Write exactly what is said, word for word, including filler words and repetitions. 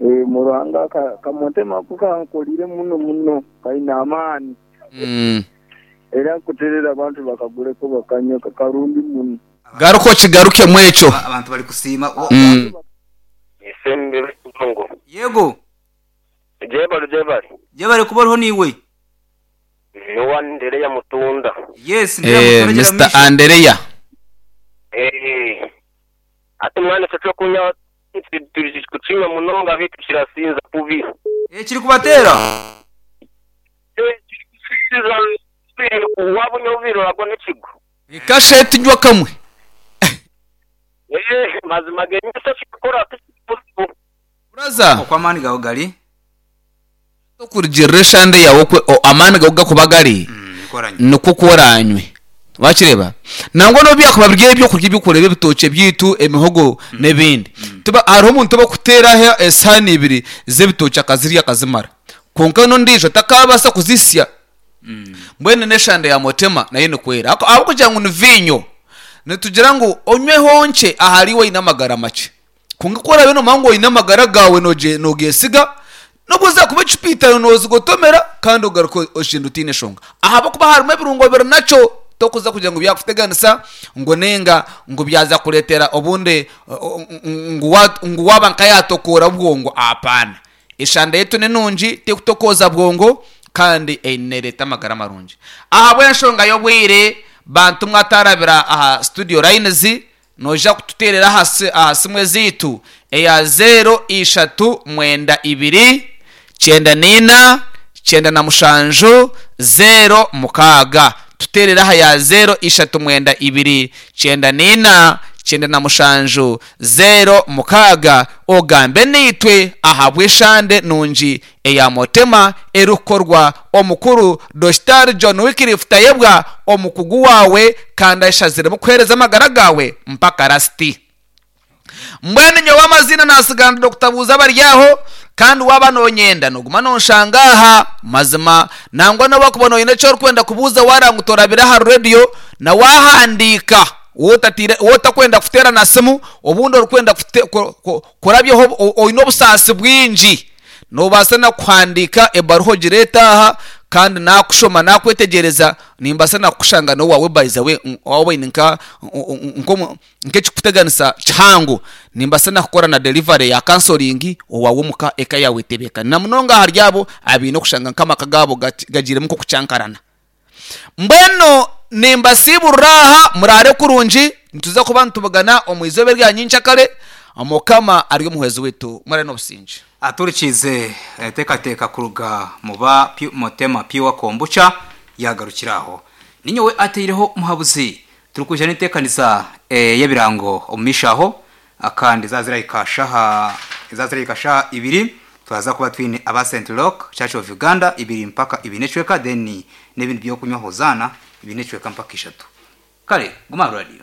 Eh, mu Ruhanga ka- kamotema ako kankolire muno muno kaine amaani. Mm. Era nkuterera abantu bakaguleko bakanywa karungi muno. Garuka okigarukemu ekyo. Aba- abantu bari kusiima. Wa- Mm. Isembere Congo. Yego. Jebali jebali. Jebali kuba oriho niiwe. Nowa Ndereya Mutunda. Yes, Eh, Ndereya Mutunda Mister Jeramisha. Andereya. Eh. Ati mwana cyo kunya kukinywa munonga bitu kirasinza kubi. Eh, kiri kubateera. Eh, kiri wabonye ubiro agwa n'ikigo. Ikasheti nywa kamwe. Eh, mazima genye se kikora tukibuzibu. Braza. Okwa amani gawe gari. Okurugirira eshande yawe okwe o- amaani gawe gakuba gari. Mm, nikoranye. Nikwo kworanywe. Wakireba nangwa no byakuba biri ebyokurya ebyokureba ebitookye byaitu emihogo n'ebindi. Tuba hariho omuntu obakuteeraho esahani ibiri z'ebitookye akazirya akazimara, kwonka n'ondiijo takabaasa kuzisya. Mbwenu n'eshande ya motema nayo nikwera ahabw'okugira ngu ni viinyo, nitugira ngu onyweho nkye ahari iwe oine amagara makye, kwonka ku oraabe noomanya ngu oine amagara gaawe noogesiga, n'obu zaakuba ecupa itaano noozigotomera kandi ogaruka oshenda otaine nshonga, ahabw'okuba harimu ebirungo biri nakyo tokuza kugira ngu byakuteganisa ngu ninga ngu byaza kureetera obundi ngu waaba nka yaatokoora bwongo. Apaana, eshanda yaitu ni nungi, tekutokooza bwongo kandi neereeta amagara marungi. Ahabw'enshonga y'obwire, bantu mwatarabira aha studio lines, noija kututeerera aha simu ezaitu eya zero ishatu mwenda ibiri kyenda n'ina kyenda na mushanju zero mukaaga. Tuteerere aha ya zero ishatu mwenda ibiri kyenda n'ina kyenda na mushanju zero mukaaga, ogambe naitwe ahabw'eshande nungi eya motema erikukorwa omukuru Dokitari John Wycliffe Tayebwa, omukugu wawe kandi ashaziremu kuheereza amagara gawe mpaka rasiti. Mbwenu nyowe amazina nasigana Dokita Buuza Abaryaho, kandi waaba noonyenda nooguma nonshanga aha mazima, nangwa nobu wakuba noyenda eki orikwenda kubuuza waaranga otorabire aha radiyo na waahandiika, wotakwenda kuteera na simu, obundi orikwenda kurabyaho oine obusaasi bwingi, noobaasa na kuhandiika ebaruha ogireete aha, kandi nakushoma nakwetegyereza, nimbaasa nakukushanga n'owaawe by the way, waaba oine nk'ekikuteganisa kihango, nimbaasa nakukora na delivery ya counseling owaawe omuka eka yaawe etebeekane, na munonga ahari abo abaine okushanga nk'amaka gaabo gagiiremu nk'okucankarana. Mbwenu nimbasiiburira aha, muraare kurungi, nituza kuba nitubugana omu izooba erya nyenkyakare. Mukama ari omuhwezi waitu, muraare n'obusingye. Aturikiize enteekateeka kuruga mu ba Motema Pure Kombucha yagarukira aho. Ninyowe ataireho muhabuzi turikwija n'enteekanisa y'ebirango omu maisho aho, kandi zaazirahika shaha zaazirahika shaha ibiri twaza kuba twine aba Saint Rock Church of Uganda ibiri mpaka ibiri n'ecweka, then n'ebindi by'okunywa Hosanna ibiri n'ecweka mpaka ishatu. Kare guma aha radio.